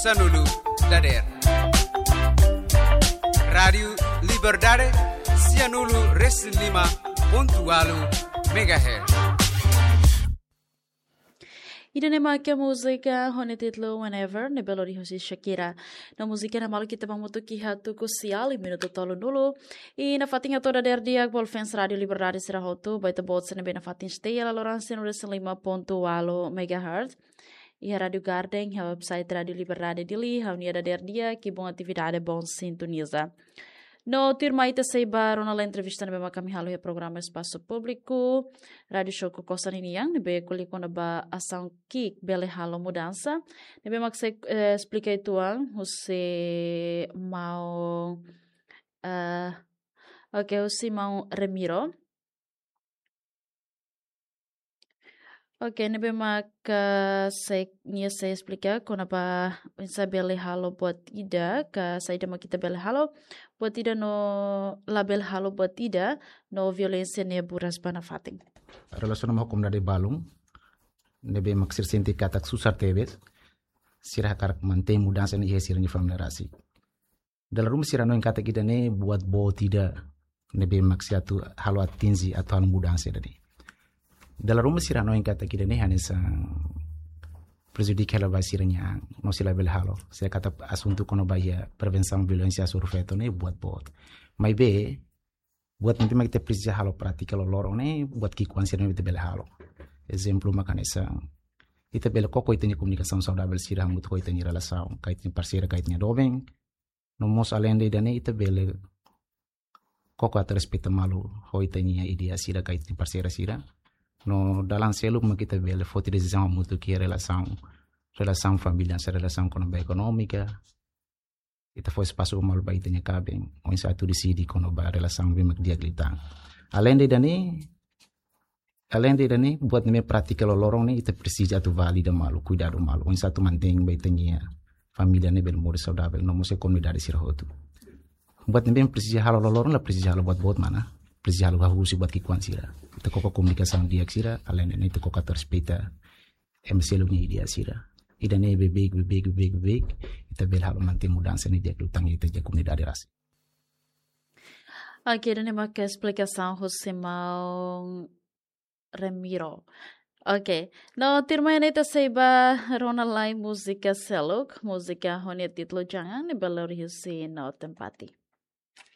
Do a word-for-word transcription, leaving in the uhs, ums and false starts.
Sanulu dader. Rádiu Liberdade, sianulu resin lima pontu ualu megahertz. Ida-ne'e mak múzika ho nia títulu Whenever, ne'ebé lori husi Shakira. No múzika ne'e malu ita ba hamutuk iha tuku sia liu minutu tolunulu. I nafatin atu dader di'ak ba fans Rádiu Liberdade sira hotu, ba ita-boot sira ne'ebé nafatin stay iha loron sianulu resin lima pontu ualu megahertz. Iha Rádiu Garden, iha website Rádiu Liberdade Dili, ha'u-nia dader di'ak, ki'ik, boa atividade, bom sintoniza. No tuirmai ita sei ba rona lai entrevista ne'ebé mak ami halo iha programa Espasu Públiku, Rádiu Show Kokosan ninian, ne'ebé ko'alia kona-ba asaun ki'ik bele halo mudansa, ne'ebé mak sei, eh, esplika uitoan, husi maun, eh, oke, husi maun Remiro. Oke, ne'ebé mak, eh, sei, nia sei esplika kona-ba oinsá bele halo buat ida, ka saida mak ita bele halo buat ida no labele halo buat ida, no violénsia ne'e buras ba nafatin. Relasiona ho komunidade balun, ne'ebé mak sira sente katak susar tebes, sira hakarak mantein mudansa ne'e iha sira-nia família rasik. Dala ruma sira hanoin katak ida-ne'e buat boot ida ne'ebé mak sei atu halo atinje atu halo mudansa ida-ne'e. Dala ruma sira hanoin katak ida-ne'e hanesan prejudika hela ba sira-nia an, no sira labele halo. Sira katak asuntu kona-ba iha prevensaun violénsia hasoru feto ne'e buat boot. Maibé, buat ne'ebé mak ita presiza halo prátika loroloron ne'e, buat ki'ikoan sira ne'ebé ita bele halo. Ezemplu mak hanesan, ita bele koko ita-nia komunikasaun saudavel sira hamutuk ho ita-nia relasaun, ka ita-nia parseira, ka ita-nia doben. No mós aleinde ida-ne'e ita bele koko atu respeita malu ho ita-nia ideia sira, ka ita-nia parseira sira. No dalan seluk mak ita bele foti desizaun hamutuk iha relasaun, relasaun família, se relasaun kona-ba ekonómika. Ita fó espasu malu ba ita-nia kaben, oinsá atu deside kona-ba relasaun ne'ebé mak di'ak liután. Aleinde ida-ne'e, aleinde ida-ne'e, buat ne'ebé prátika loroloron ne'e, ita presiza atu valida malu, kuidadu malu, oinsá atu mantein ba ita-nia família ne'e bele moris saudavel, no mós komunidade sira hotu. Buat ne'ebé presiza halo loroloron, la presiza halo buat boot mana, presiza halo hahú husi buat ki'ikoan sira. Ita koko komunikasaun di'ak sira, aleinde ne'e ita koko atu respeita ema seluk nia ideia sira. Ida-ne'e beibeik, beibeik, beibeik, beibeik, ita bele halo mantein mudansa ne'e di'ak liután iha ita-nia komunidade rasik. Oke, ida-ne'e mak esplikasaun husi maun Remiro. Oke, no tuirmai ne'e ita sei ba rona lai múzika seluk, múzika ho nia títulu Jangan, ne'ebé lori husi No Tempati.